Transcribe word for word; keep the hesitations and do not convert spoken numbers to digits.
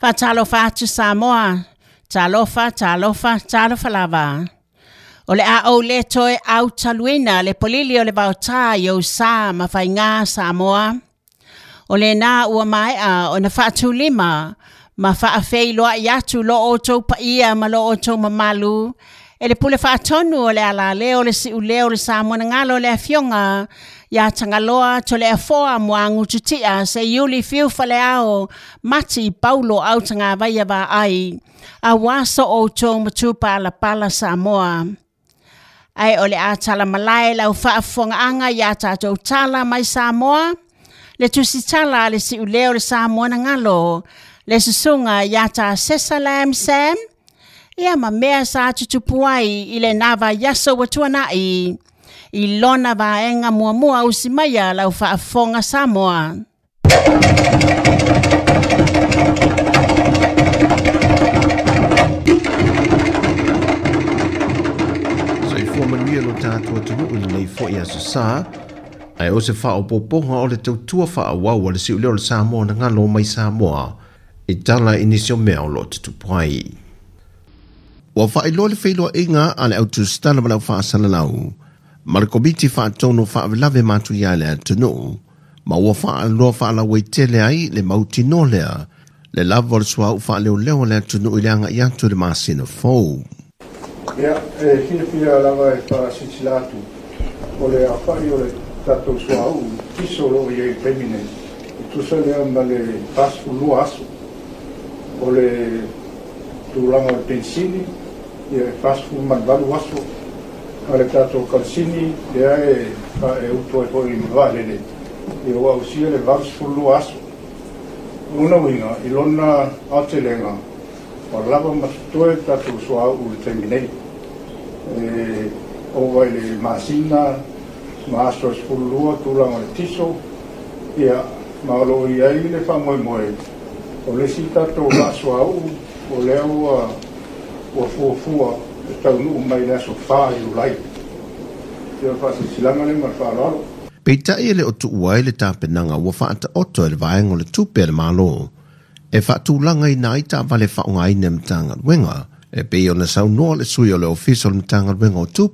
Faatalofa atu Samoa, talofa, talofa, talofa lava. O le a ou le toe au taluina le polili o le vaotā i ou sa ma faigā Samoa. O le nā ua maea o na faatulima ma faafeiloai atu lo outou paia ma lo outou mamalu e le pule faatonu o le alaleo o le siuleo o le Samoa na galo le afioga ia Tagaloa Toleafoa Muagututia Seiuli fiu faleao Mati Paulo au tagavaia vaai auā so outou matupalapala Samoa. Ae o le a talamalae lau faafofogaaga iā tatou tala mai Samoa le tusitala a le siuleo o le Samoa na galo le susuga iā Tasesa Lam Sam ia ma mea sa tutupu ai i lenā vaiaso ua tuana'i i lona vaega muamua usi maia lau faafofoga Samoa. Soifua manuia lo tatou atunuu i lenei fo'i aso Sā, ae o se faaopoopoga o le tautua faaauau a le siuleo o le Samoa na galo mai Samoa i tala i nisi o mea o loo tutupu ai. Ua faailoa le feiloaiga a le autusitala ma le aufaasalalau ma le Komiti Faatonu Faalavelave Matuia i le atunuu, ma ua faaloa faalauaitele ai le mautinoa lea le lava o le suauu faaleoleo a le atunuu i le agai atu i le masina fou. Ia, e fiafia lava e faasilasila atu o le aofai o le tatou suauu tiso o lo o i ai i le taimi nei, e tusa lea ma le fasefulu lua aso. O le tulaga o le penisini, ia e fasefulu ma le valu aso. A le tatou kalasini, lea e, e utu ai foi i le vaalele, ia ua ausia le valusefulu lua aso. O lona uiga, i lona aotelega, ua lava ma totoe le tatou suauu i le taimi nei. E ova i le masina ma aso e sefulu lua tulaga o le tiso, ia, ma o lo o i ai le faamoemoe o le isi tatou vaa suauu o lea ua ua fuafua e taunuu mai le aso fa Iulai. Ia o le faasilasilaga lea ma le faaaloalo. Peitai e le o tuua ai le tapenaga ua faataoto e le vaega o le tupe a le Malo e faatulagaina ai taavale faaaogaina e Matagaluega e pei ona saunoa le sui o le Ofisa o le Matagaluega o Tupe